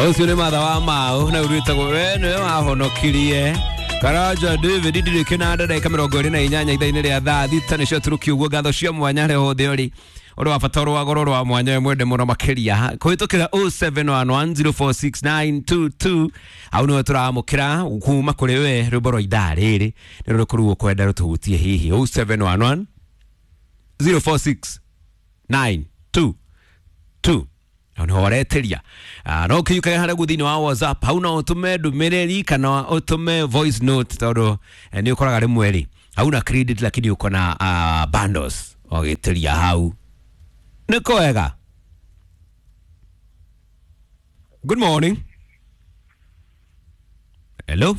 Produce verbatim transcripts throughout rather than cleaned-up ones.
Ũcio nĩ matha wa mau na ũrwĩtagwo we nĩwe wahonokirie Karanja David ndirĩ kĩnanda ndagĩka mĩrongo ĩrĩ na inyanya ithaa-inĩ rĩa thaa thita nĩcio tũrũki ũguo. Ngatho cia mwanya harĩa hothe ũrĩ, ũndũ wa bata ũrĩ wa goro wa mwanya we mwende mũno makĩria kũhĩtũkĩra zero seven one one zero four six nine two two, hau nĩwe tũramũkĩra kuma kũrĩ we. Rwĩmbo rwa ithaa rĩrĩ nĩ rũrĩkũ rĩu ũkwenda rũtũhutie hihi? zero seven one one zero four six nine two two, hau nĩho waretĩria. Ah, no ũkĩiyũkagia harĩa guo thĩinĩ wa WhatsApp, hau no ũtũme ndũmĩrĩri kana ũtũme voice note, tondũ eh, nĩ ũkoraga rĩmwe rĩ hauna credit lakini uko na uh, bundles, ũgĩtĩria hau nĩ kwega. Good morning. Hello,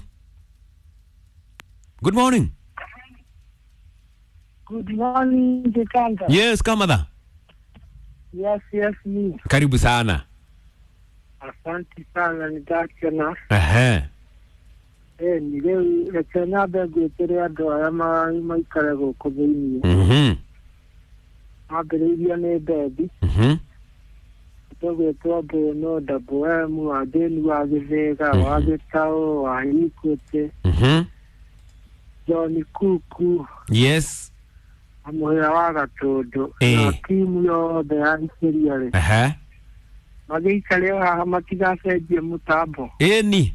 good morning. Good morning, Jikanga. Yes, Kamadha. Yes, yes, me. Karibu sana. Asante sana nĩndakena. Ehe. Eh, nĩ rĩu reke nyambe ngwĩtĩre andũ arĩa ma- maikare gũkũ thĩiniĩ. mhm Mambĩrĩirio nĩ Bethi, mhm tũgwĩtwo Mbũno, Double M, wa Jane wa Gĩthĩga, wa Gĩtaũ, wa Equity, mhm John Kuku, yes na mũhĩa wa Gatũndũ, Eh. na timu yothe ya Ikiria rĩ. Ehe. Magĩikare o haha matigacenjie mũtambo. Ĩni.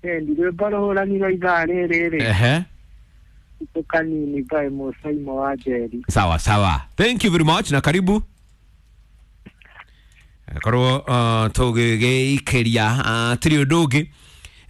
Eh, nĩ rwĩmbo rũhũranirwo ithaa rĩrĩ rĩ. Ehe. Itũ kanini by Mũcaimo wa Njeri. Sawa sawa, thank you very much na karibu. Korwo uh, tũgĩgĩikĩria uh, tiri ũndũ ũngĩ.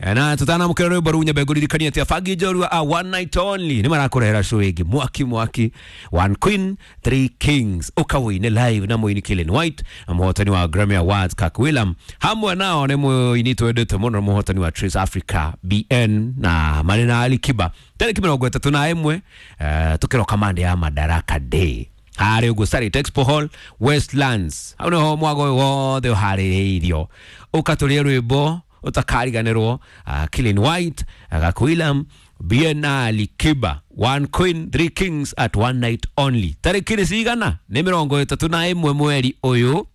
Eh, na tũtanamũkĩra rwĩmbo rũu, nyambe ngũririkanie atĩ abangi njorua a one night only nĩ marakũrehera show ĩngĩ mwaki mwaki, One Queen Three Kings, ũkawĩine live na mũini Killen White na mũhotani wa Grammy Awards Kirk William. Hamwe nao nĩ mũini twendete mũno, mũhotani wa Trace Africa B N, na marĩ na Ali Kiba, tarĩki mĩrongo ĩtatũ na ĩmwe, eh, tũkĩroka mande ya Madaraka Day harĩ ũguo Sarit Expo Hall, Westlands. Hau nĩho mwago ũyũ wothe ũharĩrĩirio, ũkatũria rwĩmbo ũtakariganĩrwo, uh, Killen White, Gak William, B N, Ali Kiba, One Queen Three Kings at one night only. Tarĩki nĩ cigana? Nĩ mĩrongo ĩtatũ na ĩmwe mweri ũyũ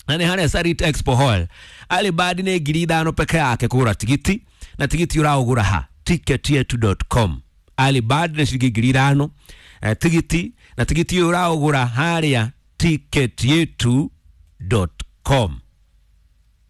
na nĩ harĩa Sarit Expo Hall. Alibadi nĩ ngiri ithano peke yake kũgũra tigiti, na tigiti ũraũgũra ha? ticketyetu dot com. Alibadi nĩ ciringi ngiri ithano, eh, tigiti, na tigiti ũyũ ũraũgũra harĩa ticketyetu dot com.